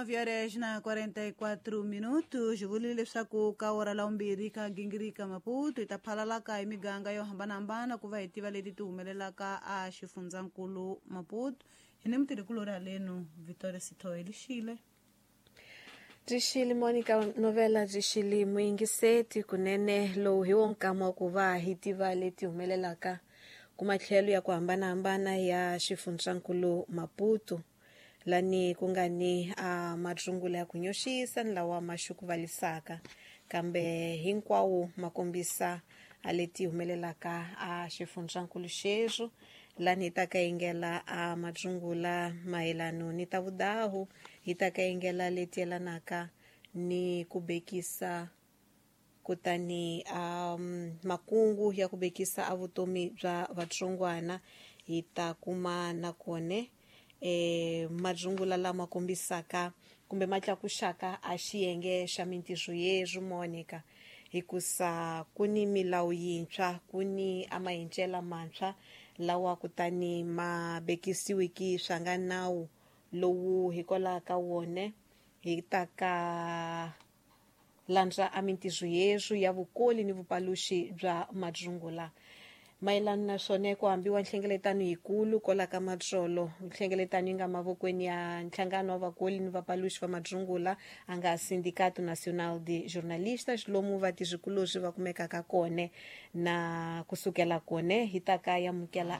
9 horas na 44 minutos vulile leswaku ka ora la vumbirhi ka gingirika Maputo hi ta phalalaka hi miganga yo hambanahambana ku va hi tiva leti ti humelelaka a xifundzankulu Maputo. Hi ni mutirhikulori halenu Victoria Sithoe lixile. Byi Monica Novela byi muyingiseti kunene lowu hi wo nkama wa ku va hi tiva leti humelelaka kumatlhelo ya ku hambanahambana ya xifundzankulu Maputo, lani ku nga ni a madzungula ya ku nyoxisa ni lawa ma xukuvalisaka, kambe hinkwawo ma kombisa a leti humelelaka a xifundzankulu xexo. Lani hi ta ka yingela a madzungula mayelano ni ta vudahu, hi ta ka yingela leti yelanaka ni ku bekisa kutani makungu ya ku bekisa a vutomi bya vatsongwana. Hi ta kuma nakone madzungula lama kombisaka kumbe ma tlakuxaka a xiyenge xa mintirho yeswo Monica, hikusa ku ni milawu yintshwa, ku ni a mahincela mantshwa lawa kutani ma bekisiwiki swa nga nawu lowu hikwalaho ka wone hi ta ka landza a mintirho yeswo ya vukoli ni vupaluxi bya madzungula. Mayelana na swona ku hambiwa nhlengeletano yikulu kwala ka Matsolo, nhlengeletano yi nga mavokweni ya nhlangano wa vakoli ni vapaluxi va madzungula a nga Sindicato Nacional de Jornalistas, lomu vatirhikulorhi va kumekaka kone. Na kusukela kone hi ta ka yamukela.